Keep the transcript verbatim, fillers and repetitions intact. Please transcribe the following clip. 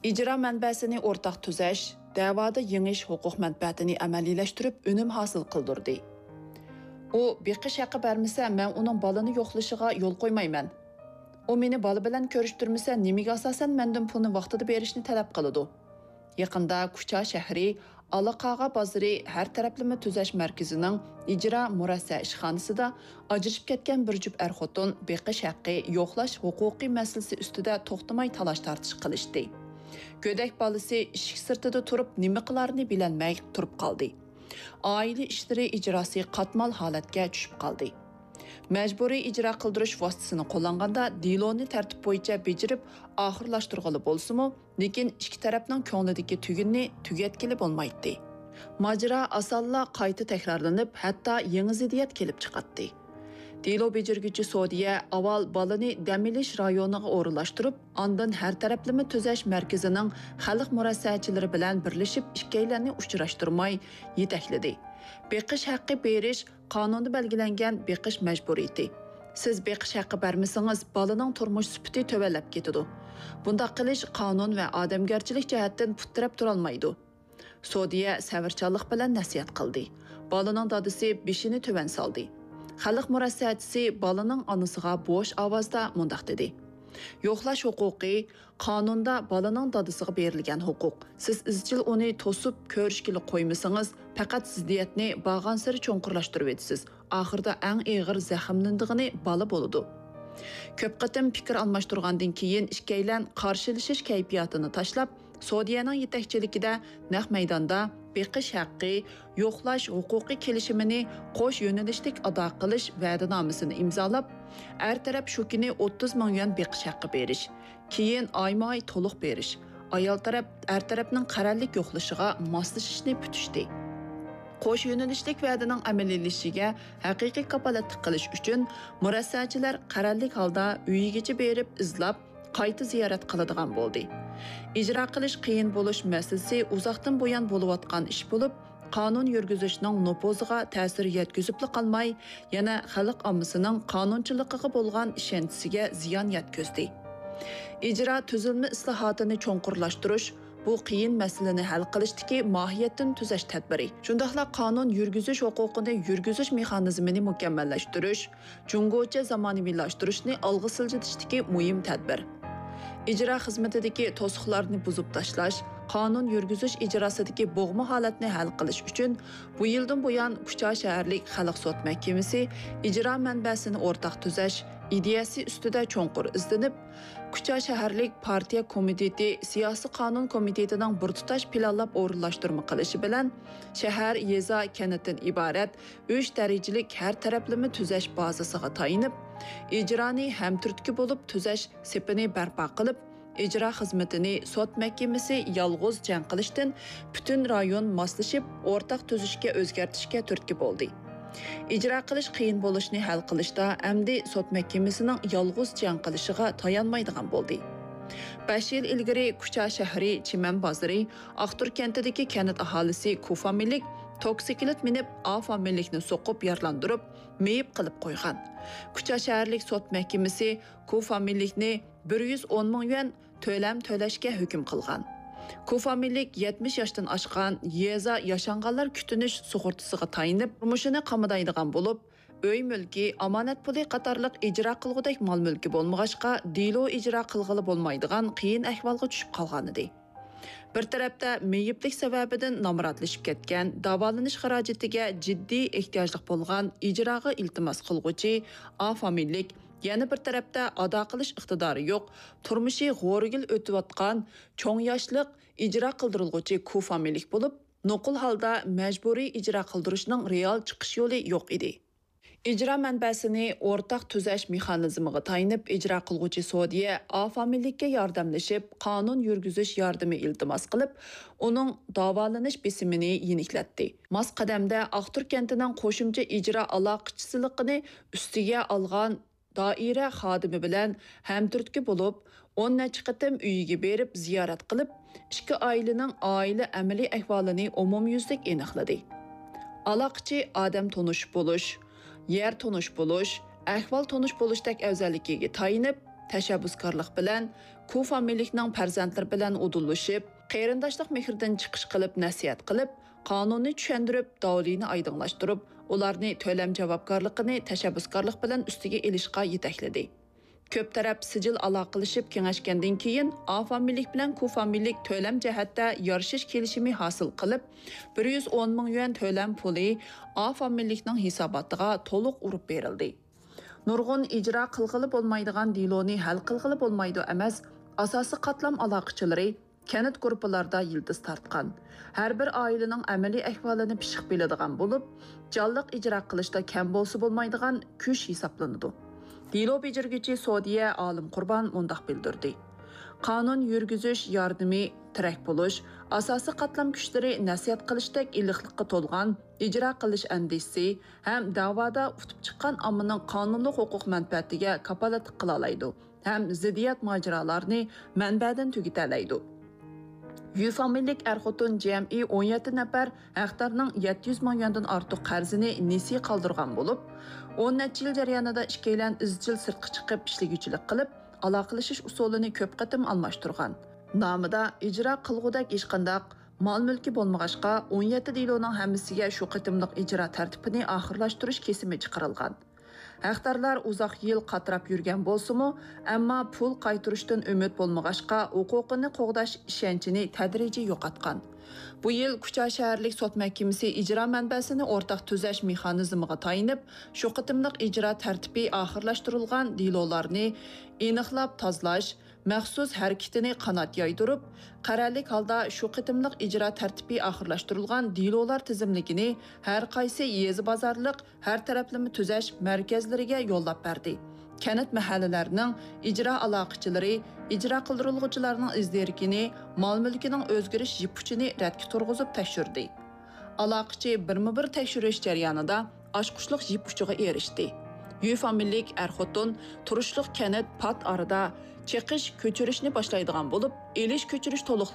ئىجرا مەنبەسىنى ئورتاق تۈزەش دەۋادا يېڭىش ھوقۇق مەنپەئەتىنى ئەمەلىيلەشتۈرۈپ، ئۈنۈم ھاسىل قىلدۇردى. ئۇ بېقىش ھەققى بەرمىسە، مەن ئۇنىڭ بالىنى يوقلىشىغا يول قويمايمەن. ئۇ مېنى بالا بىلەن كۆرۈشتۈرمىسە، نېمىگە ئاساسەن مەندىن پۇلنى ۋاقتىدا بېرىشنى تەلەپ قىلىدۇ؟ يېقىندا كۇچا شەھىرى، ئالاقاغا بازىرى ھەر تەرەپلىمە تۈزەش مەركىزىنىڭ ئىجرا مۇرەسسە ئىشخانىسىدا ئاجرىشىپ كەتكەن بىر جۈپ ئەر-خوتۇن بېقىش ھەققى، يوقلاش ھوقۇقى مەسىلىسى ئۈستىدە توختىماي تالاش-تارتىش قىلىشتى. گۆدەك بالىسى ئىشىك سىرتىدا تۇرۇپ، نېمە قىلارىنى بىلەلمەي تۇرۇپ قالدى. ئائىلە ئىشلىرى ئىجراسى قاتمال ھالەتكە چۈشۈپ قالدى. مەجبۇرىي ئىجرا قىلدۇرۇش ۋاسىتىسىنى قوللانغاندا، دېلونى تەرتىپ بويىچە بېجىرىپ ئاخىرلاشتۇرغىلى بولسىمۇ، لېكىن ئىككى تەرەپنىڭ كۆڭلىدىكى تۈگۈننى تۈگەتكىلى بولمايتتى. ماجىرا ئاسانلا قايتا تەكرارلىنىپ، ھەتتا يېڭى زىددىيەت كېلىپ چىقاتتى. دېلو بېجىرگۈچى سودىيە ئاۋۋال بالىنى دەم ئېلىش رايونىغا ئورۇنلاشتۇرۇپ، ئاندىن ھەر تەرەپلىمە تۈزەش مەركىزىنىڭ خەلق مۇرەسسەچىلىرى بىلەن بىرلىشىپ، ئىككىيلەننى ئۇچراشتۇرماي يېتەكلىدى. بېقىش ھەققى بېرىش قانۇندا بەلگىلەنگەن بېقىش مەجبۇرىيىتى. سىز بېقىش ھەققى بەرمىسىڭىز، بالىنىڭ تۇرمۇش سۈپىتى تۆۋەنلەپ كېتىدۇ. بۇنداق قىلىش قانۇن ۋە ئادەمگەرچىلىك جەھەتتىن پۇت تىرەپ تۇرالمايدۇ. سودىيە سەۋرچانلىق بىلەن نەسىھەت قىلدى. بالىنىڭ دادىسى بېشىنى تۆۋەن سالدى. خەلق مۇرەسسەچىسى بالىنىڭ ئانىسىغا بوش ئاۋازدا مۇنداق دېدى: يوقلاش ھوقۇقى قانۇندا بالىنىڭ دادىسىغا بېرىلگەن ھوقۇق. سىز ئىزچىل ئۇنى توسۇپ، كۆرۈشكىلى قويمىسىڭىز، پەقەت زىددىيەتنى بارغانسېرى چوڭقۇرلاشتۇرۇۋېتىسىز. ئاخىرىدا ئەڭ ئېغىر زەخىملىنىدىغىنى بالا بولىدۇ. كۆپ قېتىم پىكىر ئالماشتۇرغاندىن كېيىن، ئىككىيلەن قارشىلىشىش كەيپىياتىنى تاشلاپ، سودىيەنىڭ يېتەكچىلىكىدە نەق مەيداندا بېقىش ھەققى، يوقلاش ھوقۇقى كېلىشىمىنى قوش يۆنىلىشلىك ئادا قىلىش ۋەدىنامىسىنى ئىمزالاپ، ئەر تەرەپ شۇ كۈنى ئوتتۇز مىڭ يۈەن بېقىش ھەققى بېرىش، كېيىن ئايما-ئاي تولۇق بېرىش، ئايال تەرەپ ئەر تەرەپنىڭ قەرەللىك يوقلىشىغا ماسلىشىشنى پۈتۈشتى. قوش يۆنىلىشلىك ۋەدىنىڭ ئەمەلىيلىشىشىگە ھەقىقىي كاپالەتلىك قىلىش ئۈچۈن، مۇرەسسەچىلەر قەرەللىك ھالدا ئۆيىگىچە بېرىپ ئىزلاپ، قايتا زىيارەت قىلىدىغان بولدى. ئىجرا قىلىش قىيىن بولۇش مەسىلىسى ئۇزاقتىن بۇيان بولۇۋاتقان ئىش بولۇپ، قانۇن يۈرگۈزۈشنىڭ نوپۇزىغا تەسىر يەتكۈزۈپلا قالماي، يەنە خەلق ئاممىسىنىڭ قانۇنچىلىقىغا بولغان ئىشەنچىسىگە زىيان يەتكۈزدى. ئىجرا تۈزۈلمە ئىسلاھاتىنى چوڭقۇرلاشتۇرۇش، بۇ قىيىن مەسىلىنى ھەل قىلىشتىكى ماھىيەتتىن تۈزەش تەدبىرى. شۇنداقلا قانۇن يۈرگۈزۈش ھوقۇقىنى يۈرگۈزۈش مېخانىزمىنى مۇكەممەللەشتۈرۈش، جۇڭگوچە زامانىۋىلاشتۇرۇشنى ئالغا سىلجىتىشتىكى مۇھىم تەدبىر. ئىجرا خىزمىتىدىكى توسۇقلارنى بۇزۇپ تاشلاش، قانۇن يۈرگۈزۈش ئىجراسىدىكى بوغما ھالەتنى ھەل قىلىش ئۈچۈن، بۇ يىلدىن بۇيان كۇچا شەھەرلىك خەلق سوت مەھكىمىسى ئىجرا مەنبەسىنى ئورتاق تۈزەش ئىدىيەسى ئۈستىدە چوڭقۇر ئىزدىنىپ، كۇچا شەھەرلىك پارتىيە كومىتېتى سىياسىي قانۇن كومىتېتىنىڭ بىر تۇتاش پىلانلاپ ئورۇنلاشتۇرما قىلىشى بىلەن، شەھەر، يېزا، كەنتتىن ئىبارەت ئۈچ دەرىجىلىك ھەر تەرەپلىمە تۈزەش بازىسىغا تايىنىپ، ئىجرانى ھەمتۈرتكە بولۇپ تۈزەش سېپىنى بەرپا قىلىپ، ئىجرا خىزمىتىنى سوت مەھكىمىسى يالغۇز جەڭ قىلىشتىن پۈتۈن رايون ماسلىشىپ ئورتاق تۈزۈشكە ئۆزگەرتىشكە تۈرتكە بولدى. ئىجرا قىلىش قىيىن بولۇشنى ھەل قىلىشتا ئەمدى سوت مەھكىمىسىنىڭ يالغۇز جەڭ قىلىشىغا تايانمايدىغان بولدى. بەش يىل ئىلگىرى كۇچا شەھىرى چىمەن بازىرى ئاقتۇر كەنتىدىكى كەنت ئاھالىسى كۇ فامىلىلىك توكسىكلىت مىنىپ، ئا فامىلىلىكنى سوقۇپ يارىلاندۇرۇپ، مېيىپ قىلىپ قويغان. كۇچا شەھەرلىك سوت مەھكىمىسى كۇ فامىلىلىكنى بىر يۈز ئون مىڭ يۈەن تۆلەم تۆلەشكە ھۆكۈم قىلغان. كۇ فامىلىلىك يەتمىش ياشتىن ئاشقان، يېزا ياشانغانلار كۈتۈنۈش سۇغۇرتىسىغا تايىنىپ، تۇرمۇشىنى قامىدايدىغان بولۇپ، ئۆي مۈلكى، ئامانەت پۇلى قاتارلىق ئىجرا قىلغۇدەك مال مۈلكى بولمىغاچقا، دېلو ئىجرا قىلغىلى بولمايدىغان قىيىن ئەھۋالغا چۈشۈپ قالغانىدى. بىر تەرەپتە مېيىپلىك سەۋەبىدىن نامراتلىشىپ كەتكەن، داۋالىنىش خىراجىتىگە جىددىي ئېھتىياجلىق بولغان ئىجراغا ئىلتىماس قىلغۇچى ئا فامىلىلىك، يەنە بىر تەرەپتە ئادا قىلىش ئىقتىدارى يوق، تۇرمۇشى غورىگىل ئۆتۈۋاتقان چوڭ ياشلىق ئىجرا قىلدۇرۇلغۇچى كۇ فامىلىلىك بولۇپ، نوقۇل ھالدا مەجبۇرىي ئىجرا قىلدۇرۇشنىڭ رېئال چىقىش يولى يوق ئىدى. ئىجرا مەنبەسىنى ئورتاق تۈزەش مېخانىزمىغا تايىنىپ ئىجرا قىلغۇچى سودىيە ئا فامىلىلىككە ياردەملىشىپ، قانۇن يۈرگۈزۈش ياردىمى ئىلتىماس قىلىپ، ئۇنىڭ داۋالىنىش بېسىمىنى يېنىكلەتتى. ماس قەدەمدە ئاقتۇر كەنتىنىڭ قوشۇمچە ئىجرا ئالاقىچىسىلىقىنى ئۈستىگە ئالغان دائىرە خادىمى بىلەن ھەمتۈرتكە بولۇپ، ئون نەچچە قېتىم ئۆيىگە بېرىپ زىيارەت قىلىپ، ئىككى ئائىلىنىڭ ئائىلە ئەمەلىي ئەھۋالىنى ئومۇميۈزلۈك ئېنىقلىدى. ئالاقىچى ئادەم تونۇش بولۇش، يەر تونۇش بولۇش، ئەھۋال تونۇش بولۇشتەك ئەۋزەللىكىگە تايىنىپ، تەشەببۇسكارلىق بىلەن كۇ فامىلىلىكنىڭ پەرزەنتلىرى بىلەن ئۇدۇللىشىپ، قېرىنداشلىق مېھرىدىن چىقىش قىلىپ نەسىھەت قىلىپ، قانۇننى چۈشەندۈرۈپ، داۋلىنى ئايدىڭلاشتۇرۇپ، ئۇلارنى تۆلەم جاۋابكارلىقىنى تەشەببۇسكارلىق بىلەن ئۈستىگە ئېلىشقا يېتەكلىدى. كۆپ تەرەپ سىجىل ئالاقىلىشىپ كېڭەشكەندىن كېيىن، ئا فامىلىلىك بىلەن كۇ فامىلىلىك تۆلەم جەھەتتە يارىشىش كېلىشىمى ھاسىل قىلىپ، بىر يۈز ئون مىڭ يۈەن تۆلەم پۇلى ئا فامىلىلىكنىڭ ھېساباتىغا تولۇق ئۇرۇپ بېرىلدى. نۇرغۇن ئىجرا قىلغىلى بولمايدىغان دېلونى ھەل قىلغىلى بولمايدۇ ئەمەس، ئاساسىي قاتلام ئالاقىچىلىرى كەنت گۇرۇپپىلاردا يىلتىز تارتقان، ھەر بىر ئائىلىنىڭ ئەمەلىي ئەھۋالىنى پىششىق بىلىدىغان بولۇپ، جانلىق ئىجرا قىلىشتا كەم بولسا بولمايدىغان كۈچ ھېسابلىنىدۇ. دېلو بېجىرگۈچى سودىيە ئالىم قۇربان مۇنداق بىلدۈردى: قانۇن يۈرگۈزۈش ياردىمى، تىرەك بولۇش، ئاساسىي قاتلام كۈچلىرى نەسىھەت قىلىشتەك ئىللىقلىققا تولغان ئىجرا قىلىش ئەندىزىسى ھەم دەۋادا ئۇتۇپ چىققان ئاممىنىڭ قانۇنلۇق ھوقۇق مەنپەئەتىگە كاپالەتلىك قىلالايدۇ ھەم زىددىيەت ماجىرالارنى مەنبەدىن تۈگىتەلەيدۇ. يۈ فامىلىلىك ئەر-خوتۇن جەمئىي ئون يەتتە نەپەر ھەقدارنىڭ يەتتە يۈز مىڭ يۈەندىن ئارتۇق قەرزىنى نېسى قالدۇرغان بولۇپ، ئون نەچچە يىل جەريانىدا ئىككىيلەن ئىزچىل سىرتقا چىقىپ ئىشلىگۈچىلىك قىلىپ، ئالاقىلىشىش ئۇسۇلىنى كۆپ قېتىم ئالماشتۇرغان. نامىدا ئىجرا قىلغۇدەك ھېچقانداق مال-مۈلكى بولمىغاچقا، ئون يەتتە دېلونىڭ ھەممىسىگە شۇ قېتىملىق ئىجرا تەرتىپىنى ئاخىرلاشتۇرۇش كېسىمى چىقىرىلغان. ھەقدارلار ئۇزاق يىل قاتراپ يۈرگەن بولسىمۇ، ئەمما پۇل قايتۇرۇشتىن ئۈمىد بولمىغاچقا، ھوقۇقىنى قوغداش ئىشەنچىنى تەدرىجىي يوقاتقان. بۇ يىل كۇچا شەھەرلىك سوت مەھكىمىسى ئىجرا مەنبەسىنى ئورتاق تۈزەش مېخانىزمىغا تايىنىپ، شۇ قېتىملىق ئىجرا تەرتىپى ئاخىرلاشتۇرۇلغان دېلولارنى ئېنىقلاپ تازىلاش، مەخسۇس ھەرىكىتىنى قانات يايدۇرۇپ، قەرەللىك ھالدا شۇ قېتىملىق ئىجرا تەرتىپى ئاخىرلاشتۇرۇلغان دېلولار تىزىملىكىنى ھەر قايسى يېزا بازارلىق ھەر تەرەپلىمە تۈزەش مەركەزلىرىگە يوللاپ بەردى. كەنت مەھەللىلەرنىڭ ئىجرا ئالاقىچىلىرى ئىجرا قىلدۇرۇلغۇچىلارنىڭ ئىز دېرىكىنى، مال-مۈلكىنىڭ ئۆزگىرىش يىپ ئۇچىنى رەتكە تۇرغۇزۇپ تەكشۈردى. ئالاقىچى بىرمۇ بىر تەكشۈرۈش جەريانىدا ئاچقۇچلۇق يىپ ئۇچىغا ئېرىشتى. يۈ فامىلىلىك ئەر-خوتۇن تۇرۇشلۇق كەنت پات ئارىدا چېقىش، كۆچۈرۈشنى باشلايدىغان بولۇپ، ئېلىش-كۆچۈرۈش تولۇق